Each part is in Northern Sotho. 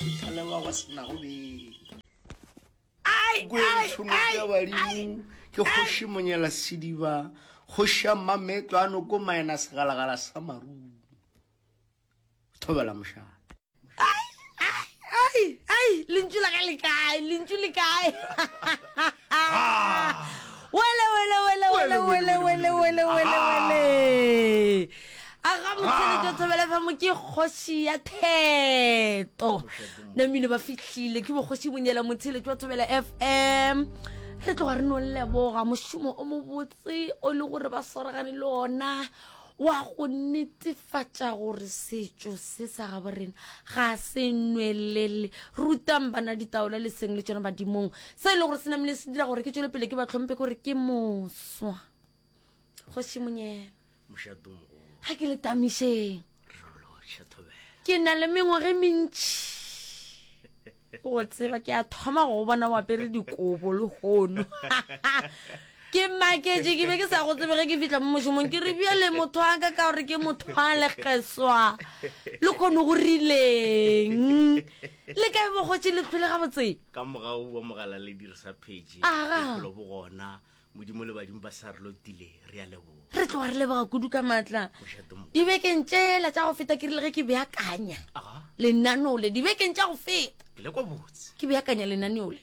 fitlha le ba ba senago beng. Kwentšhono ya badimo ke kgoši monyela sediba kgoši ya mmametlo a noko maena segalagala sa marumo thobela mošate ai ai lentšu la ka le kae lentšu le kae wele wele wele wele wele wele wele wele wele a ga motheletšo thobela fa mo ke kgoši ya theto namile ba fihlile ke bokgoši bonyela motheletšo wa thobela fm re tloga re no leboga mošomo o mobotse o le gore ba swaragane le ona wa go netefatša gore setšo se sa gabo rena ga se nwelele. Rutang bana ditaola le seng le tšona badimong. Se e le gore se namile se dira gore ke tšwele pele ke ba tlhompe ke gore ke moswa. Kgoši Monyela. Ga ke le tamišeng. Ke na le mengwaga e mentši go tseba ke a thoma go bona o apere dikobo lehono ke maketše ke be ke sa go tsebe ge ke fitlha mo mošomong ke re bjale motho a ka ka gore ke motho a lekgeswa le kgone go rileng le kae bokgotše le tlhole gabotse ka mogau wa mogala le dirisa phage bophelo bo gona Modimo le badimo ba sa re lotile, re a leboga. Re tloga re leboga kudu ka maatla. Dibekeng tšela tša go feta ke rile ge ke beakanya lenaneo le, dibekeng tša go feta. Ke le kwa botse. Ke beakanya lenaneo le.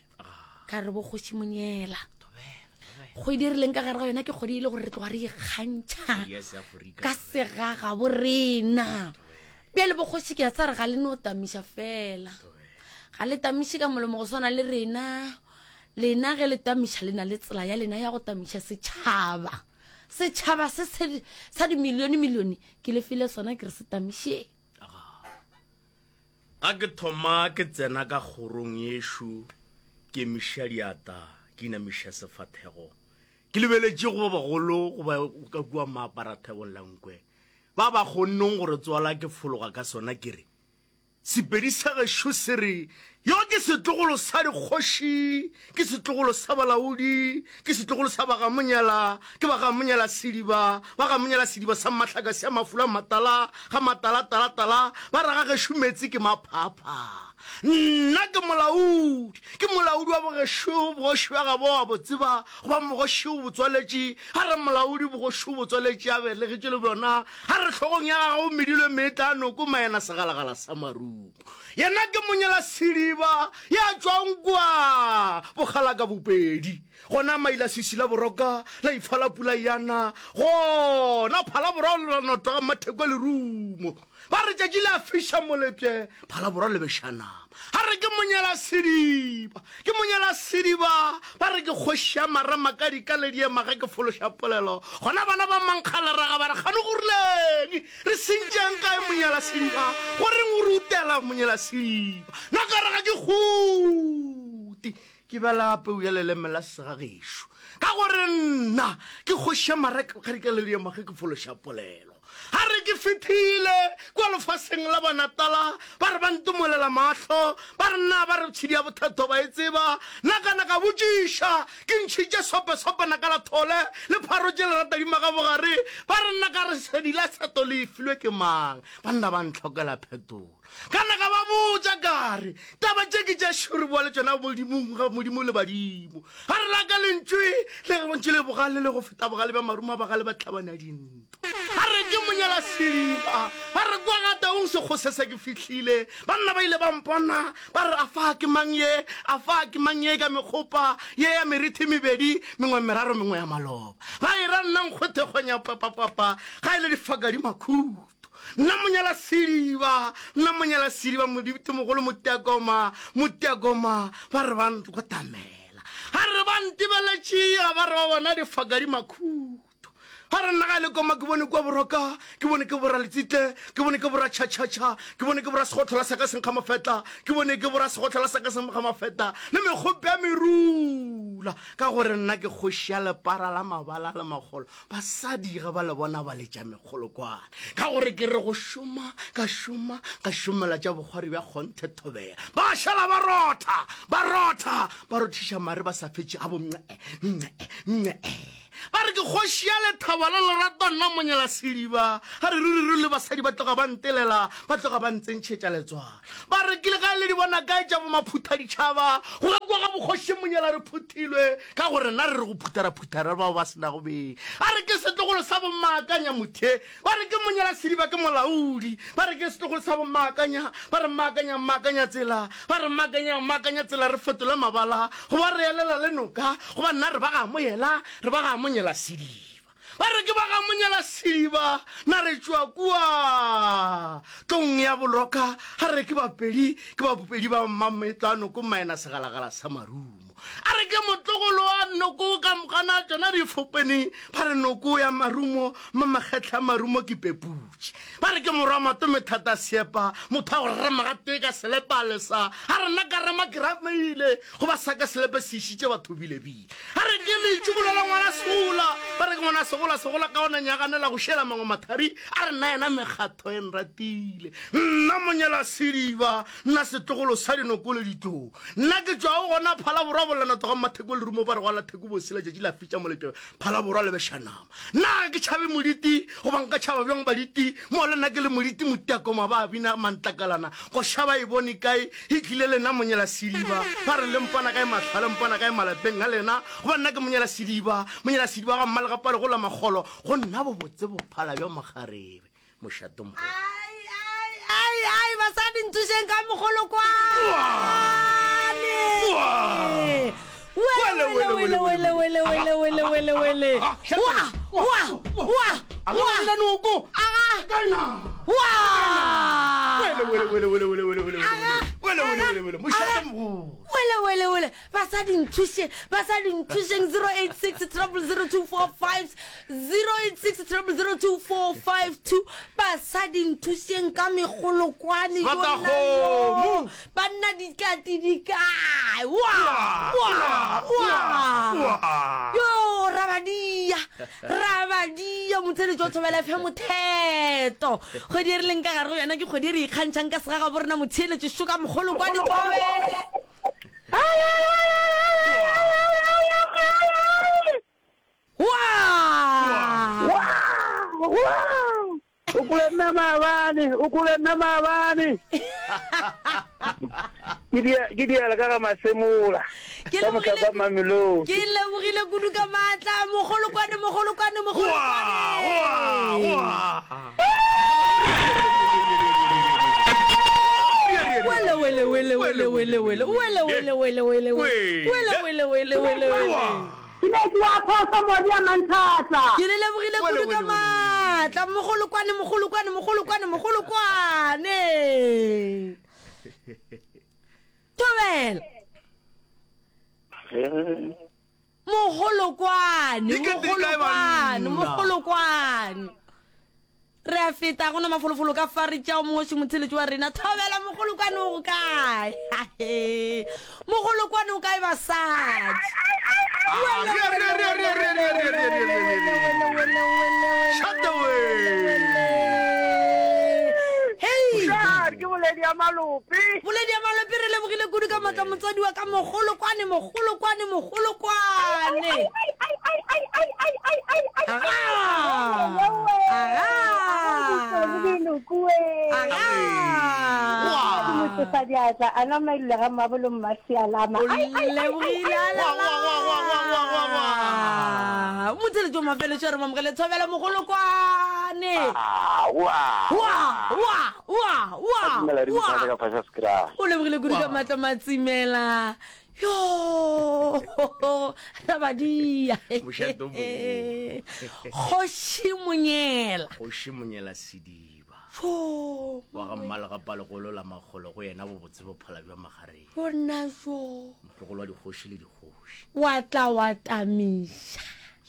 Ka re bokgoši Monyela. Kgwedi e re leng ka gare ga yona ke kgwedi e le gore re tloga re ikgantšha ka segaga bo rena. Bjale bokgoši ke a tsa re ga le no tamiša fela. Ga le tamiše ka molomo go swana le rena. Lena ge le tamiša le na le tsela ya lena ya go tamiša setšhaba. Setšhaba se se sa dimilione milione ke le file sona ke re se tamišeng. Ga ke thoma ke tsena ka kgorong yešo ke emiša diata ke inamiša sefathego ke lebeletše go ba bagolo goba ka kua maaparathebong la nkwe ba ba kgonneng gore tswala ke fologa ka sona ke re Sepedi sa gešo se re, Yo ke setlogolo sa dikgoši, ke setlogolo sa balaodi, ke setlogolo sa ba ga Monyela, ke ba ga Monyela sediba, ba ga Monyela sediba sa mahlaka sa mafula matala, ga matala tala tala, ba re ga gešo meetse ke maphapha. Nna ke molaodi, ke molaodi wa bogešo, bogoši bja gabo a bo tseba, goba mogoši o bo tswaletše, a re molaodi bogoši o bo tswaletše a belegetše le bjona, A re hlogong ya gagwe o medilwe meetla a noko maena segalagala sa marumo. Yena ke monyela sediba ya tšwang kwa bokgalaka bopedi. Gona maila sisi la boroka la ifa la pula yana. Gona phala borwa la notwa ga matheko lerumo. Ba re tšatši le a fiša molepše phala borwa le beša nama. A re ke monyela sediba, ke monyela sediba, ba re ke kgoši ya marama ka dika le diema ge ke fološa polelo. Gona bana ba mankgaleraga ba re kgane go rileng, re sentšeng kae monyela sediba, go reng o re utela monyela sediba. Nna ka re ga ke kgute, ke bjala peu ya leleme la segagešo, ka gore nna ke kgoši ya maraka ka dika le diema ge ke fološa polelo. A re ke fethile kua lefaseng la Banatala, ba re ba ntomolela mahlo, ba re na ba re tshedi ya bothatho ba e tseba. Nna ka na ka botšiša, ke ntšhitše sope-sope naka la thole, le pharotše leratadima ka bogare, ba re nna ka re sedi la tsheto le e filwe ke mang? Banna ba ntlhokela phetolo. Ka na ka ba botša ka re, Taba tše ke tša šo re boa le tšona Modimong, ga Modimo le badimo. Ga re la ka lentšwe le re bontši le bogale le go feta bogale bja marumo a bagale ba tlhabana dintwa. A re ke monyela sediba, ba re kwa ga taung sekgose se ke fihlile. Banna ba ile ba mpona, ba re afa ke mang ye, afa ke mang ye ka mekgopa ye ya merithi mebedi, mengwe meraro mengwe ya maloba. Ba e ra nna nkgwethe kgonya papapapa, ga e le difaka di makhuto. Nna monyela sediba, nna monyela sediba, Modimo Motiakoma, Motiakoma, ba re ba nkotamela. Ga re ba ntebeletše, ga ba re ba bona difaka di makhuto. Ga re nna ga le koma ke bone kua boroka, ke bone ke bora letsitle, ke bone ke bora tšhatšhatšha, ke bone ke bora segotlhola sa ka senkga mafeta, ke bone ke bora segotlhola sa ka senkga mafeta, le mekgope ya merula. Ka gore nna ke kgoši ya lepara la mabala le magolo. Basadi ga ba le bona ba letša mekgolokwane ka gore ke re go šoma ka šoma ka šomela tša bokgwari bja kgonthe thobela. Ba šala ba rotha ba rotha ba rothiša mare ba sa fetše a bo nce nce nce. Ba re ke kgoši ya lethabo la lerato nna monyela sediba. Ga re ruri ruri le basadi ba tloga ba ntelela, ba tloga ba ntsentšhetša letswalo. Ba re ke le ga le di bona kae tša bomaphutha-ditšhaba, go ga kwa ga bokgoši monyela re phuthilwe, ka gore nna re re go phutha ra phutha re bao ba se nago beng. A re ke setlogolo sa bommaakanya mothe, ba re ke monyela sediba ke molaodi, ba re ke setlogolo sa bommaakanya, ba re mmaakanya mmaakanya tsela, ba re mmaakanya mmaakanya tsela re fetole mabala, goba re elela le noka, goba nna re ba ga moyela, re ba ga monyela sediba. Ba re ke ba ga monyela sediba, na re tšwa kua tlong ya boloka, a re ke bapedi, ke bapedi ba mmametlo a noko maena segalagala sa marumo. A re ke motlogolo wa noko ka mokana tšona difopene, ba re noko ya marumo, mmamakgetla a marumo ke peputše. Ba re ke morwa matome thata seepa, motho wa go rema gatee ka selepe a lesa, a re nna ka rema ke ramile, goba sa ka selepe se išitše batho bilebile. A re ke leitšibulo la ngwana segola, ba re ke ngwana segola, segola ka ona nyaganela go šela mangwe mathari, a re nna yena mekgatho e nratile. Nna monyela sediba, nna setlogolo sa dinoko le ditlou. Nna ke tšwago gona Phalaborwa bolana tloga Mmatheko lerumo ba re gwa la theko bose letšatši la fitša moletšo Phalaborwa le beša nama. Nna ga ke tšhabe moditi goba nka tšhaba bjang baditi mo le nna ke le moditi motiakoma ba bina mantlakalana koša ba e bone kae e tlile lena monyela sediba ba re le mpona kae mahlwa le mpona kae malapeng a lena goba nna ke monyela sediba monyela sediba ga mmalegapale go la makgolo go nna bobotse bophala bja makgarebe mošato mogolo. Ai, ai, ai, ai, basadi nthušeng ka mogolokwane. Wele, wele, wele, wele, wele, wele, wele, wele, wele. Wa, wa, wa, wa. Noko. Aga. Wa. Wele, wele, wele, wele, wele, wele, wele, Aga. wele, wele, wele, wele, mošato mogolo. Wele, wele, wele. Basadi nthuše, basadi nthušeng 086 000 086 0002452 basadi nthušeng ka megolokwane Sebatakgomo. banna dikati di kae wa wa wa yo rabadia rabadia motheletši wa thobela fm motheto kgwedi e re leng ka gare go yona ke kgwedi e re ikgantšhang ka segagabo rena motheeletši šoka mogolokwane thobela O kule nna maabane, o kule nna maabane. Ke dia ke diala ka ga masemola. Ke Ka mohla lebogile kwa Mamelodi. ke lebogile kudu ka maatla mogolokwane mogolokwane mogolokwane. Wele wele wele wele wele wele wele wele wele wele wele wele wele wele wele. Ke ne ke wa phoso modi a manthatla. Ke le lebogile kudu ka maatla mogolokwane mogolokwane mogolokwane mogolokwane. Thobela. Mogolokwane mogolokwane mogolokwane. Re a feta gona mafolofolo ka fa re tšea mongwe motheletši wa rena thobela mogolokwane o go kae mogolokwane o kae basadi ke boledi ya malope boledi ya malope re lebogile kudu ka maatla motswadi wa ka mogolokwane mogolokwane mogolokwane diatla a na maile ga mabolo mmasialama motheletso mafeletso re mamogele thobela mogolokwane o lebogile kudu ka maatla matsimela yo rabadia Mošate o kgoši monyela kgoši monyela sediba jo wa ga mmalegapalogolo la makgolo go yena bobotse bophala bja magareng bona jo motlogolo wa dikgoši le dikgoši wa tla wa tamiša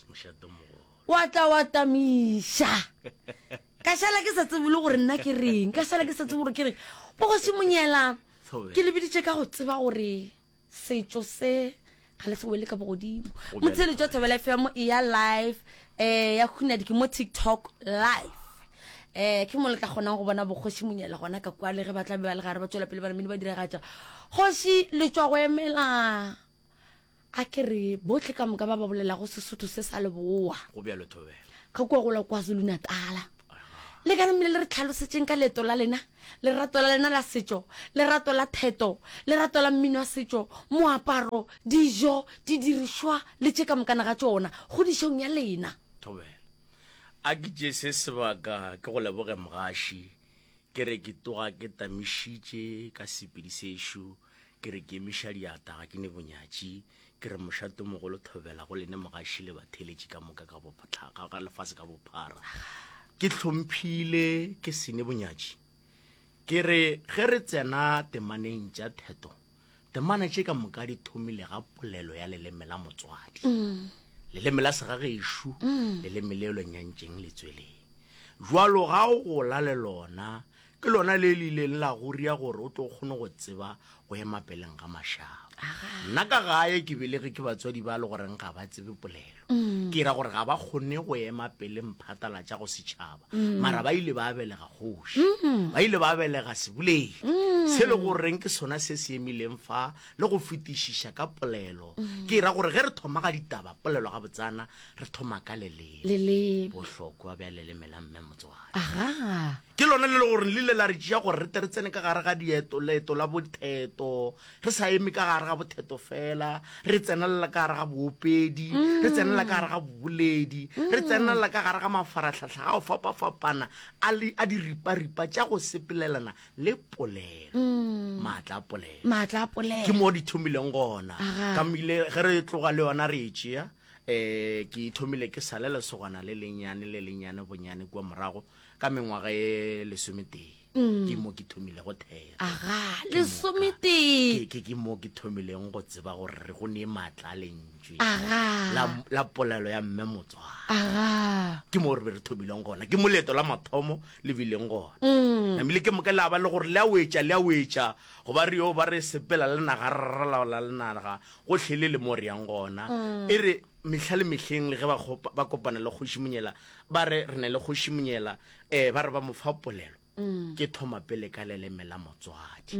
mošate o mogolo wa tla wa tamiša ka šala ke sa tsebe le gore nna ke reng ka šala ke sa tsebe gore ke reng bogoši monyela Ke le biditše ka go tseba gore setšo se ga le se wele ka bogodimo. Motheletšo wa Thobela FM e ya live eh ya Hunadi ke mo TikTok live. Eh ke mo le tla kgonang go bona bokgoši Monyela gona ka kwa le ge ba tla be ba le gare ba tšwela pele ba namile ba diragatša. Kgoši le tšwa go emela. A ke re bohle ka moka ba ba bolelago Sesotho se sa Leboa. Go bjalo Thobela. Ka kua go la KwaZulu-Natala. Le ka namile le re tlhalosetšeng ka leeto la lena, lerato la lena la setšo, lerato la theto, lerato la mmino wa setšo, moaparo, dijo, didirišwa le tše ka mokana ga tšona, kgodišong ya lena. Thobela. A ke tšee se sebaka ke go leboge mogaši, ke re ke tloga ke tamišitše ka sepedi sešo, ke re ke emiša diata ga ke ne bonyatši, ke re mošatomogolo thobela go lene mogaši le batheeletši ka moka ka bophara, ka lefase ka bophara. Ke hlomphile ke se ne bonyatši. Ke re ge re tsena temaneng tša theto, Temana tše ka moka di thomile ga polelo ya leleme la motswadi. Mm. Leleme la segagešo, mm. leleme le lo nyantšeng letsweleng. Jwalo ga o gola le lona, ke lona le le ileng la goria gore o tlo kgone go tseba go ema peleng ga mašaba. Nna ka gae ke belege ke batswadi ba le goreng ga ba tsebe polelo. Mm. Ke ra gore ga ba kgone go ema pele mphatlalatša go setšhaba. Mm. Mara ba ile ba belega kgoši. Mm. Ba ile ba belega seboledi. Se le goreng ke sona se se emileng fa le go fetišiša ka polelo. Ke ra gore ge re thoma ga ditaba polelo ga botsana re thoma ka leleme. Leleme. Bohlokwa bja leleme la mme motswadi. Aga. Ke lona le le gore le ile la re tšea gore re tle re tsene ka gare ga dieto leeto la botheto Re sa eme ka gare ga botheto fela, re tsenelela ka gare ga boopedi, re tsenelela ka gare ga boboledi, re tsenelela ka gare ga mafarahlahla a go fapafapana a le a diriparipa tša go sepelelana le polelo, maatla a polelo. Maatla a polelo. Ke mo di thomileng gona. Aga. Ka mile ge re tloga le yona re e tšea, um ke thomile ke sa le lesogana le lennyane le lennyane bonyane kua morago ka mengwaga e lesometee. Ke mo ke thomilego thero. Aga, lesometee. Ke, ke, ke mo ke thomileng go tseba gore re go nee maatla a lentšwe. Aga. La, la polelo ya mme motswadi. Aga. Ke mo re be re thomileng gona. Ke mo leeto la mathomo le bileng gona. Namile ke moka la ba le gore le a wetša, le a wetša, goba re yo ba re sepela le naga, re ralaola le naga, gohle le le mo re yang gona. E re mehla le mehleng le ge ba kgopa, ba kopana le Kgoši Monyela, ba re re ne le Kgoši Monyela, Ee, ba re ba mo fa polelo. Ke thoma pele ka leleme la motswadi.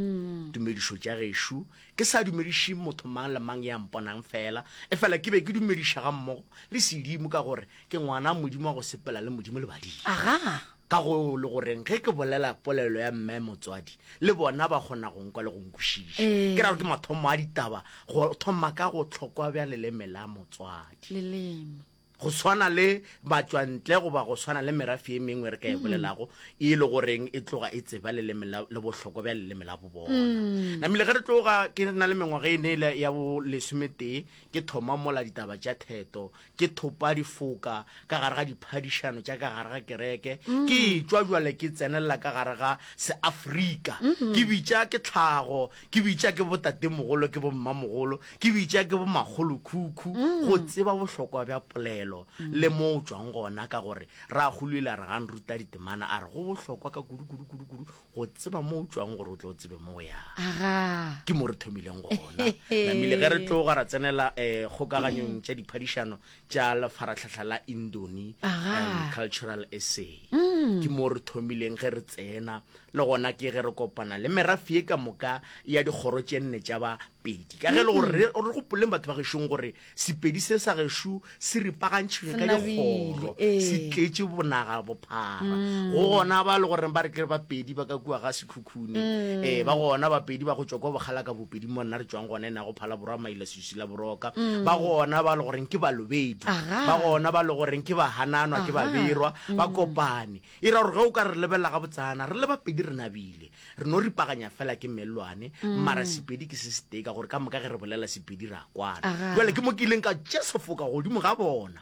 Tumedišo tša gešo, ke sa dumediše motho mang le mang ya mponang fela, efela ke be ke dumediša gammogo le sedimo ka gore ke ngwana Modimo wa go sepela le Modimo le badimo. Aga. Ka go le goreng ge ke bolela polelo ya mme motswadi, le bona ba kgona go nkwa le go nkwešiša. Ke ra gore ke mathomo a ditaba go thoma ka go hlokwa bja leleme la motswadi. Leleme. Go swana le batšwantle goba go swana le merafe ye mengwe re ka e bolelago e le goreng e tloga e tseba leleme la, le bohlokwa bja leleme la bobona. Namile ge re tloga ke na le mengwaga e ne le ya bo lesometee ke thoma mola ditaba tša theto, ke thopa difoka ka gare ga diphadišano tša ka gare ga kereke, ke etšwa bjale ke tsenelela ka gare ga Seafrika, ke bitša ke tlhago, ke bitša ke botatemogolo, ke bommamogolo, Ke bitša ke bomakgolokhukhu go tseba bohlokwa bja polelo le mo o tšwang gona, ka gore rakgolo ile a re ga nruta ditemana a re go bohlokwa ka kudu kudu kudu kudu go tseba mo o tšwang gore o tle o tsebe mo o yang. Aga. Ke mo re thomileng gona. Namile ge re tloga ra tsenela um kgokaganyong tša diphadišano tša lefarahlahla la Indoni Aga. um Cultural Essay. Ke mo re thomileng ge re tsena Le gona ke ge re kopana le merafe ye ka moka ya dikgoro tše nne tša Bapedi. Ka ge e le gore re re gopoleng batho ba gešong gore Sepedi se sa gešo se ripagantšhilwe ka dikgoro, se tletše bonaga bophara. Go gona ba le goreng ba re ke Bapedi ba ka kua ga Sekhukhune, ee, ba gona Bapedi ba go tšwa kua Bokgalaka Bopedi mo nna re tšwang gona e nago Phalaborwa Maila Swiswi la Boroka. Ba gona ba le goreng ke Balobedu, ba gona ba le goreng ke Bahananwa ke Baberwa, ba kopane. E ra gore ge o ka re lebelela gabotsana, re le bapedi re nabile. Re no ripaganya fela ke mellwane, mara Sepedi ke se setee ka gore ka moka ge re bolela Sepedi re a kwana. Bjale ke mo ke ileng ka tšea sefoka godimo ga bona.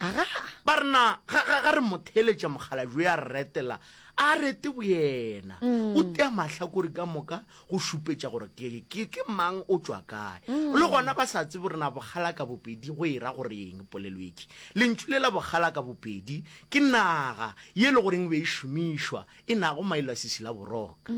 Ba re na ga, ga, ga re mo theeletša mokgalabje yo a re retela, a rete boyena. O tea mahlakore ka moka go šupetša gore ke, ke, ke mang o tšwa kae. Le gona ba sa tsebe gore na bokgalaka bopedi go e ra gore eng polelo e ke. Lentšu le la bokgalaka bopedi ke naga ye e le goreng e be e šomišwa e nago mailasisi la boroka.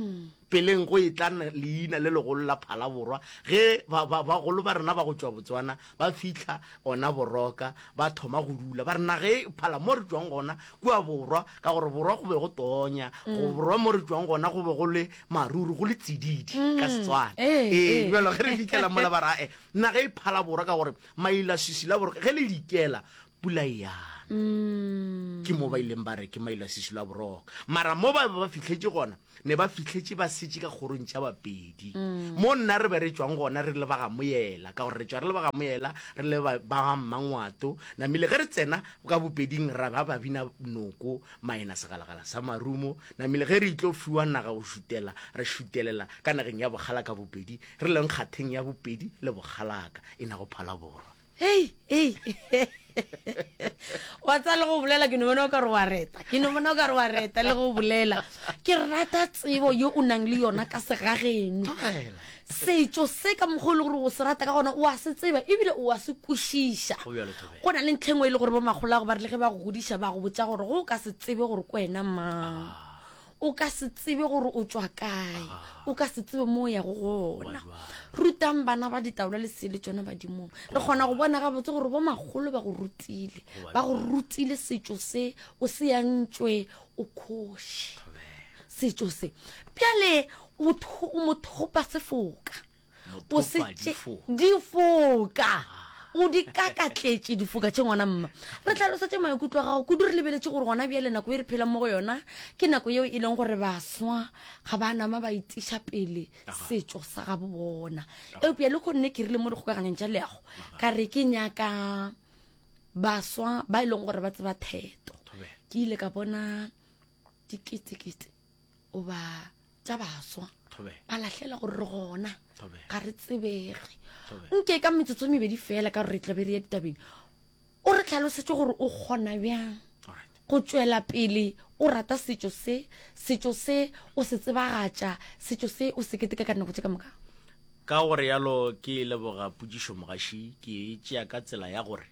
Peleng go etla leina le legolo la Phalaborwa ge ba, ba, bagolo ba rena ba go tšwa Botswana ba fihla ona boroka ba thoma go dula. Ba re naga e phala mo re tšwang gona kua borwa ka gore borwa go be go tonya. tonya go borwa mo re tšwang gona go be go le maruru go le tsididi ka Setswana. Ee, Ee, ee. bjalo ge re fitlhela mola ba ra e naga e phala borwa ka gore mailaswiswi la borwa ge le dikela pula e yana. Ke mo ba ileng ba re ke mailaswiswi la boroka. Mara mo ba be ba fihletše gona ne ba fihletše ba setše ka kgorong tša Bapedi. Mo nna re be re tšwang gona re le ba ga Moyela, ka gore re tšwa re le ba ga Moyela, re le ba ga Mmangwato. Namile ge re tsena ka Bopeding ra ba ba bina noko, maena segalagala sa marumo. Namile ge re tlo fiwa naga go šutela, re šutelela ka nageng ya Bokgalaka Bopedi, re leng kgatheng ya Bopedi le Bokgalaka, e nago Phalaborwa. Hei, hei. Wa tsaya le go bolela ke no bona o ka re wa reta. Ke no bona o ka re wa reta le go bolela. Ke rata tsebo yo o nang le yona ka segageno. Setšo se ka mokgwa o le gore o se rata ka gona o a se tseba ebile o a se kwešiša. Go na le ntlha e nngwe e le gore bo makgolo ba re le ge ba go godiša ba go botša gore go o ka se tsebe gore ke wena mang. O ka se tsebe gore o tšwa kae, o ka se tsebe mo o yago gona. Rutang bana ba ditaola le sele tšona badimong. Re kgona go bona gabotse gore bo makgolo ba go rutile, ba go rutile setšo se o se yantšwe o khoše. Setšo se. Bjale o mothopa sefoka. O se tše difoka. O di kakatletše difoka tše ngwana mma. Re hlalosetše maikutlo a gago kudu re lebeletše gore gona bjale nako e re phelang mo go yona ke nako yeo e leng gore baswa ga ba nama ba itiša pele setšo sa gabo bona. Eupša le kgonne ke rile mo dikgokaganyong tša leago ka re ke nyaka baswa ba e leng gore ba tseba theto. Ke ile ka bona diketekete goba tša baswa ba lahlela gore re gona ga re tsebege nke ka metsotso e mebedi fela ka gore re tlabe re ya ditabeng o re tlhalosetse gore o kgona bjang go tšwela pele o rata setšo se setšo se o se tsebagatša setšo se o se keteka ka dinako tše ka moka ka gore yalo ke leboga potšišo mogaši ke e tšea ka tsela ya gore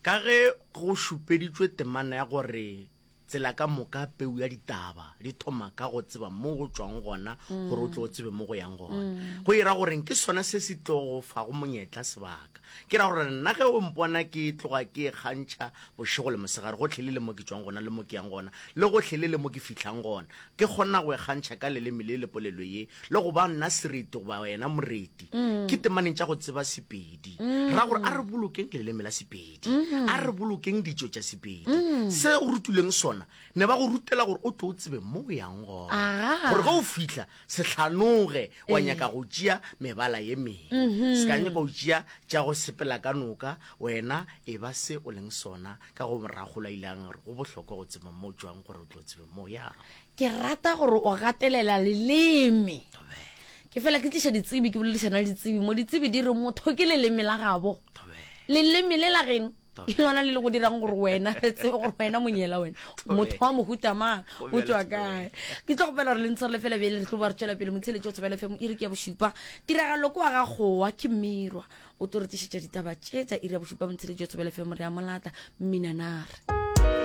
ka ge go šupeditšwe temana ya gore Tsela ka moka peu ya ditaba di thoma ka go tseba mo go tšwang gona gore o tle o tsebe mo go yang gona. Go e ra goreng ke sona se se tlo go fago monyetla sebaka. Ke ra gore nna ge o mpona ke tloga ke ikgantšha bošego le mosegare gohle le le mo ke tšwang gona le mo ke yang gona le gohle le le mo ke fihlang gona. Ke kgona go ikgantšha ka leleme le le polelo ye le go ba nna sereti goba wena moreti. Ke temaneng tša go tseba Sepedi. Ra gore a re bolokeng leleme la Sepedi. Sepedi. A re bolokeng ditšo tša Sepedi. Se o rutilweng sona, ne ba go rutela gore o tlo o tsebe mo o yang gona. Aga. Gore ge o fihla, se hlanoge wa nyaka go tšea mebala ye mengwe. Se ka nyaka go tšea tša go sepela ka noka, wena e ba se o leng sona. Ka go rakgolo a ile a re go bohlokwa go tseba mo o tšwang gore o tlo tsebe mo o yago. Ke rata gore o gatelela leleme. Ke fela ke tliša ditsebi, ke boledišana le ditsebi mo. Ditsebi di re motho ke leleme la gabo. Leleme le la geno ke lona le le go dirang gore wena re tsebe gore wena monyela wena motho wa mohuta mang o tšwa kae. Ke tlo kgopela gore le ntshwarele fela bjale re tlo ba re tšwela pele motheeletši wa Thobela FM iri ke ya bošupa. Tiragalo ke wa ga Kgowa ke Mmirwa o tlo re tlišetša ditaba tše tša iri ya bošupa motheeletši wa Thobela FM re a mo lata Mminanare.